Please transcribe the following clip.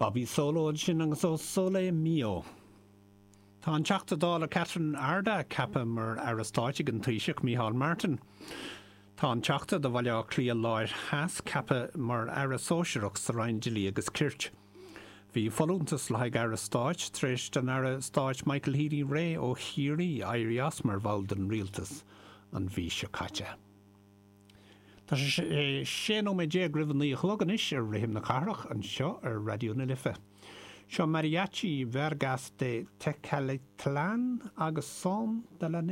Bobby Solo ansin agus O Sole Mio. Tá an Teachta Dála Catherine Ardagh ceaptha mar Aire Stáit ag an Taoiseach Micheál Martin. Tá an Teachta do Bhaile Átha Cliath Láir Theas ceaptha mar Aire Sóisearach sa Roinn Dlí agus Cirt. Bhí folúntas le haghaidh Aire Stáit tar éis don Aire Stáit Michael Healy-Rae ó Chiarraí éirí as mar bhall den Rialtas an mhí seo caite. Tá sé 16 nóiméad roimh a 9 a chlog anois ar Rithim na Cathrach anseo ar Raidió na Life. Seo Mariachi Vargas de Tecalitlán agus Son de la Negra.